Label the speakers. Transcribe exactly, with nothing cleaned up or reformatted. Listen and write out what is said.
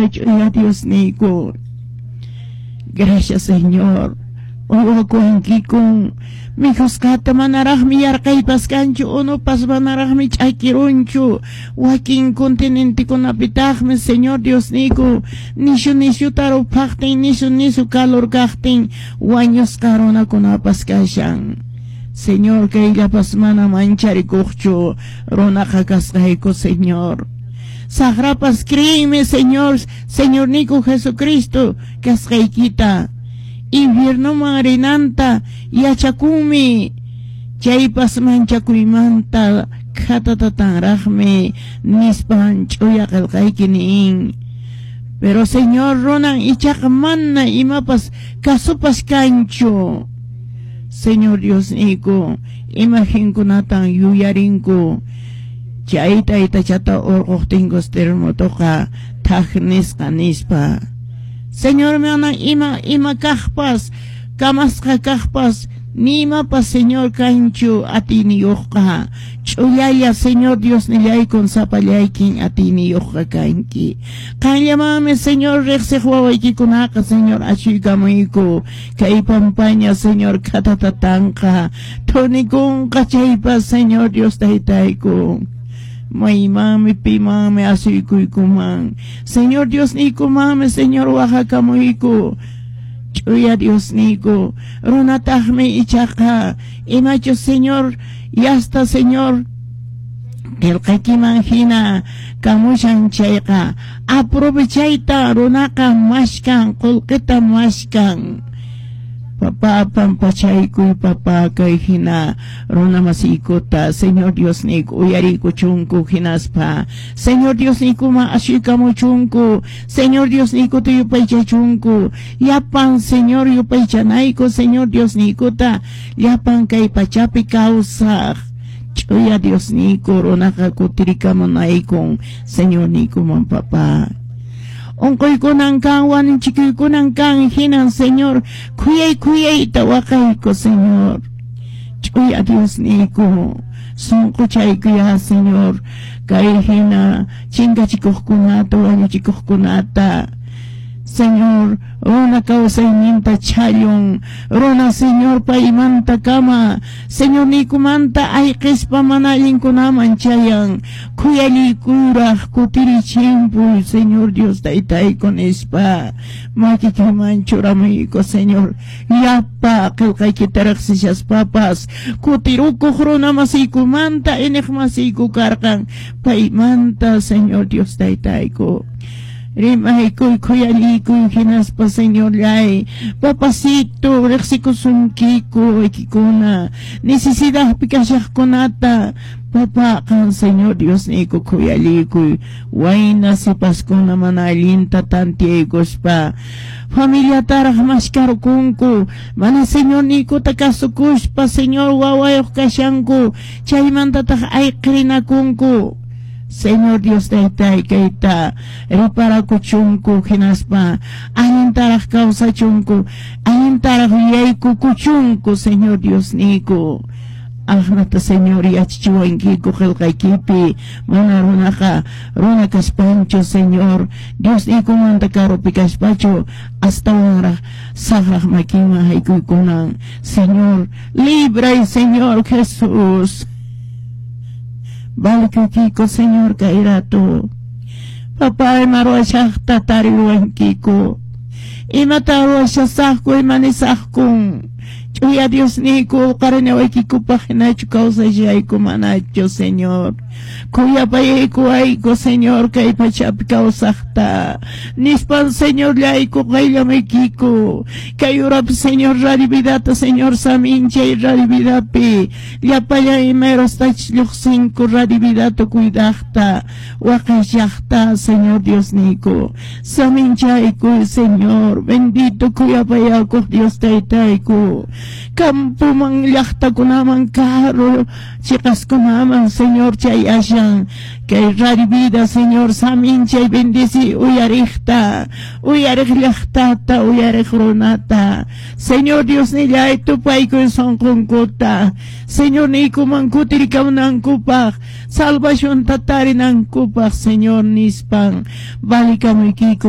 Speaker 1: Ch'uya ch'uya Diosniyku. Gracias, Señor. Uywakuwankikun mikhusqata manaraqmi yarqaypas kanchu, unupas manaraqmi ch'akirunchu. Wakin continentekunapitaqmi, Señor Diosniyku, nishu nishuta ruphaqtin, nishu nishu calor kaqtin wañusqa runakunapas kashan. Señor, kayllapas mana mancharikuqchu runaqa kasqayku, Señor. Saqrapas créeme, Señor, Señorniyku Jesucristo kasqaykita. Infiernoman rinanta yachakunmi, chaypas manchakuymanta khatatatanraqmi nispan ch'uya qillqayki nin. Pero, Señor, runan ichaqa mana imapas kasupas kanchu. Señor Diosniyku, imagenkunatan yuyarinku. Chay taytachata urquqtinkus terremotoqa thak nisqa nispa. Señor, mana ima ima kaqpas, kamasqa kaqpas, ni imapas, Señor, kanchu atiyniyuqqa. Ch'ullalla, Señor Diosnillaykun, sapallaykin atiyniyuqqa kanki. Qanllamanmi, Señor, riqsiq wawaykikunaqa, Señor, ashuykamuyku. Kay pampaña, Señor, khatatatanqa, thunikunqa chaypas, Señor Dios taytayku. Maymanmi, pimanmi asuykuykuman. Señor Diosniykumanmi, Señor, waqakamuyku. Ch'uya Diosniyku. Runataqmi ichaqa imachus, Señor, yasta, Señor, qillqaykiman hina kamushan chayqa aprovechayta runaqa mashkan, qullqita mashkan. Papá, pampachaykuy, papá, kay hina runa masiykuta, Señor Diosniyku, uyariykuchunku hinaspa Señor Diosniykuman ashuykamuchunku, Señor Diosniykuta yupaychachunku. Llapan, Señor, yupaychanayku Señor Diosniykuta, llapan kay pachapi kawsaq. Ch'uya Diosniyku, runaqa kutirikamunaykun Señorniykuman, papá. Unquykunan kan, wañuchikuykunan kan, hinan, Señor, khuyay khuyayta waqayku, Señor. Ch'uya Diosniyku, sunquchaykuya, Señor, kay hina chinkachikuqkunata, wañuchikuqkunata. Señor, runa kawsayninta chhallun, runa, Señor, paymanta kama, Señor niykumanta ayqispa mana allinkunaman chayan. Khuyallikuraq kutirichimpuy, Señor Dios taytayku nispa makikiman churamuyku, Señor. Llapa qillqaykita riqsishaspapas kutirukuq runa masiykumanta, iniq masiyku karqan paymanta, Señor Dios taytayku. Rimaykuy, khuyallikuy hinaspa, Señorllay, papacito, riqsikusunkiku waykikuna necesidadpi kashaqkunata, papá. Qan, Señor Diosniyku, khuyallikuy wayna sipaskuna mana allinta tantiyaykuspa familiataraq mashkarkunku, mana Señorniykuta kasukuspa, Señor, wawayuq kashanku, chaymantataq ayqirinakunku. Señor Dios taytay, kayta riparakuchunku hinaspa allintaraq kawsachunku, allintaraq yuyaykukuchunku, Señor Diosniyku. Aqnata, Señor, yachachiwankiku qillqaykipi, mana runaqa runa kaspanchu, Señor Diosniykumanta karupi kaspachu astawanraq saqraq makinman haykuykunan. Señor, libray, Señor Jesús. Valekuykiku, Señor, kay rato. Papá, ima ruwashaqta tariwankiku. Imata ruwashasaqku, ima nisaqkun. Ch'uya Diosniyku, qarinawaykikupaq hinachu kawsashayku manachu, Señor. Khuyapayaykuwayku, Señor, kay pachapi kawsaqta. Nispan, Señorllayku, qayllamaykiku. Kay urapi, Señor, Radio Vidata, Señor, saminchay Radio Vidapi. Llapallan imayrastach lluqsinku Radio Vidata cuidaqta, waqaychaqta, Señor Diosniyku. Saminchayku, Señor, bendito khuyapayakuq Dios taytayku. Campoman, llaqtakunaman, karu chiqaskunaman, Señor, chay ashan kay Radio Vida, Señor, saminchay, bendici uyariqta, uyariq llaqtata, uyariq runata. Señor Diosnillay, tupaykuy sunqunkuta, Señor niykuman kutirikamunankupaq, salvacionta tarinankupaq, Señor, nispan valikamuykiyku.